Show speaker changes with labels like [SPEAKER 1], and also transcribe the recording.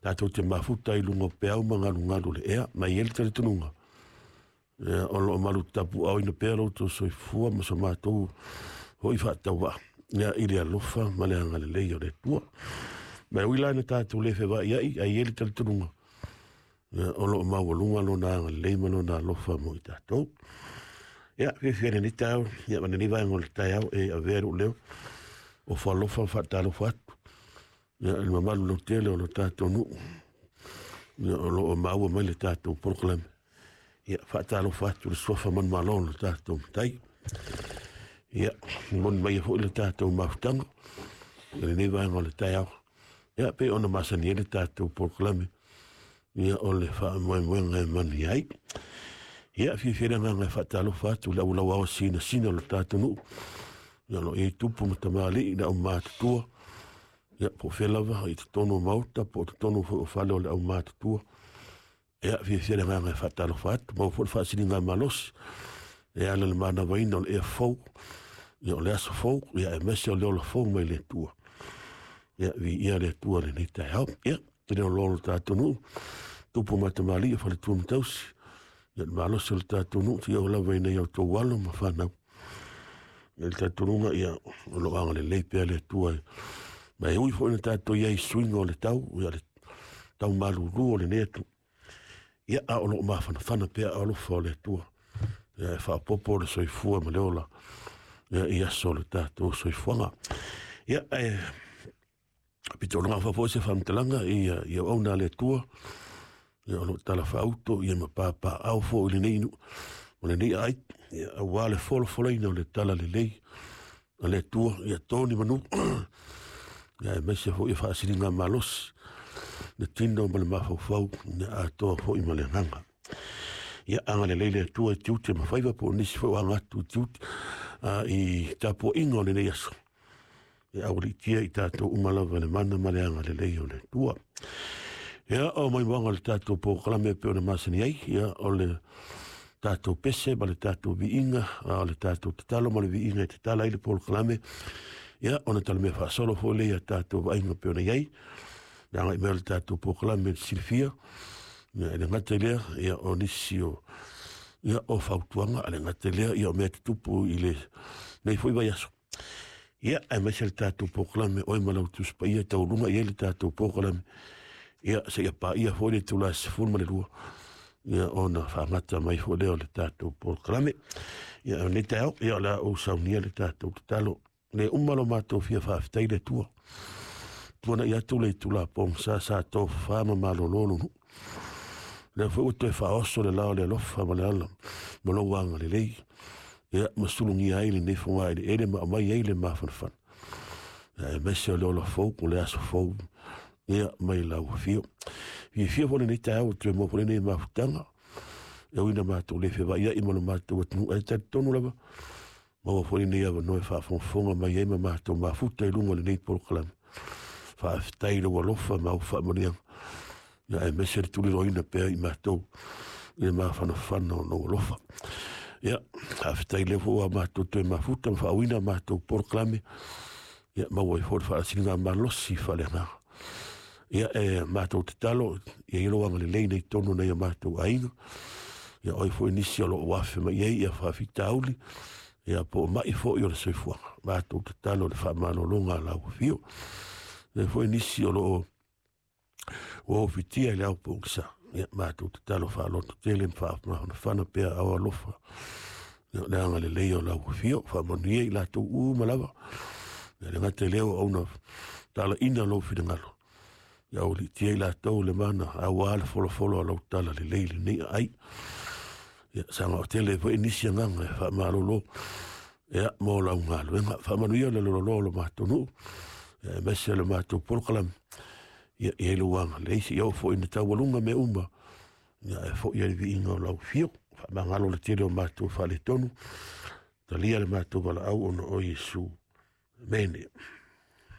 [SPEAKER 1] Tatou te mafuta i luga o peau ma galugalu o le ea, ma e i ai le talitonuga, ia, o lo o malutapuaaoina pea lo outou soifua ma so matou foi faatauvaa, ia, i le alofa ma le agalelei o le Atua. Ma e ui la ina tatou le fevaaiai, ae i ai le talitonuga, ia, o lo o maualuga lona agalelei ma lona alofa mo i tatou. Ia, fiafia i lenei taeao, ia, ma lenei vaega o le taeao e avea i lou leo, ofo alofa ma faatalofa atu, ia, i le mamalu lautele o lo tatou nuu, ia, o lo o maua mai le tatou polokalame. Ia, faatalofa atu i le suafa manumalo o lo tatou Matai. Ia, momoli mai foi le tatou mafutaga i lenei vaega o le taeao. Ia, pei ona masani ai le tatou polokalame, ia, o le faamoemoega e manuia ai. Ia, fiafia le agaga e faatalofa atu i le aulauao sinasina o le tatou nuu, ia, o lo o i ai tupu ma tamalii, le aumatutua, ia, po o fea lava i totonu o maota, po o totonu foi o fale o le aumatutua. Ia, fiafia le agaga e faatalofa atu, maua foi le faasiligamalosi e ala i le manavaina o le ea fou, ia, o le aso fou, ia, aemaise o le ola fou mai le Atua. Ia, viia le Atua i lenei taeao. Ia, e le o loa lo tatou nuu, tupu ma tamalii o faletua ma tausi, ia, le malosi o le tatou nuu, seia oo lava ina ia outou alo ma fanau. Ia, le talitonuga, ia, o lo o agalelei pea le Atua. Ma e ui foi ina tatou i ai i suiga o le tau, ia, le tau malulu o lenei atu, ia, a o lo o mafanafana pea alofa o le Atua, ia, e faaopoopo le soifua ma le ola, ia, i aso o le tatou soifuaga. Ia, ae pitolaga foi se faamatalaga i ia auauna a le Atua, ia, o lo o talafaauto, ia, ma papaau foi i lenei nuu o lenei aai, ia, aua le folafolaina o le talalelei a le Atua, ia to ni manu, ia, aemaise foi ia faasiligamalosi le tino ma le mafaufau, ia atoa foi ma le agaga. Ia, agalelei le Atua i tiute ma faiva po o nisi foi o aga atu i tiute i tapuaiga o lenei aso. Ia aualiitia i tatou uma lava le mana ma le agalelei o le Atua. Ia, o maimoaga o le tatou polokalame e pei ona masani ai, ia, o le tatou pese ma le tatou viiga, a o le tatou tatalo ma le viiga e tatala ai le polokalame, ia, ona talamea faasolo foi lea ia tatou vaaiga e pei ona i ai, le agai mai o le tatou polokalame i le silafia, ia, e le gata i lea, ia, o nisi o, ia, o fautuaga, a le gata i lea, ia, o mea tutupu i lenei foi vaiaso. Ia, aemaise le tatou polokalame oe ma lau Tusi Paia, taualuga i ai le tatou polokalame, ia, seia paia foi le itula e 12, ia, ona faagata mai foi lea o le tatou polokalame. Ia, o lenei taeao, ia, o le a ou saunia le tatou tatalo. Le uma lo matou fia faafetai le Atua. Tuanai atu le itula pogisa sa tofafa ma malolo lo nuu. Lea foi ua toe faaoso le la o le alofa ma le ala ma lou agalelei, ia, ma sulugia ai lenei fogaeleele ma aumai ai le mafanafana, ia, aemaise o le ola fou, o le aso fou, ia, mai lau afio. Fiafia foi lenei taeao ua toe maua foi lenei mafutaga, e ui ina matou le fevaaiai ma lo matou atunuu, ae talitonu lava, maua foi lenei avanoa e faafogafoga mai ai ma matou mafuta i luga o lenei polokalame. Faafetai i lou alofa ma au faamanuiaga, ia, aemaise le tuliloaina pea i matou i le mafanafana o lou alofa. Ia, faafetai lea foi ua matou toe mafuta ma faauina matou polokalame, ia, maua ai foi le faasiligamalosi faaleagaga. Ia, e matou tatalo, ia i lou agalelei nei tonu nei o matou aiga, ia, oi foi nisi o lo o afe mai ai ia faafitauli, ia, po o mai foi o le soifuaga. Matou tatalo le faamalologa a lau afio. Ia foi nisi o lo o ua ofitia i le ao pogisa, ia, matou tatalo faaloto tele ma faamafanafana pea ao alofa, ia, o le agalelei o lau afio, faamanuia i latou uma lava. Ia, le gata i lea ua auna talaina lou finagalo, ia aualiitia i latou le mana aua le folafolo a lau tala lelei lenei aai. Ia, saga o tele foi nisi agaga e faamalolo, ia, mo lau galuega. Faamanuia le lololoa o lo matou nuu, ia, aemaise o le matou polokalame, ia, i ai lou agalelei, seia oo foi ina taualuga mea uma, ia, e foi ai le viiga o lau afio. Faamagalo le tele o matou faaletonu, talia le matou valaau ona o Iesu. Amene.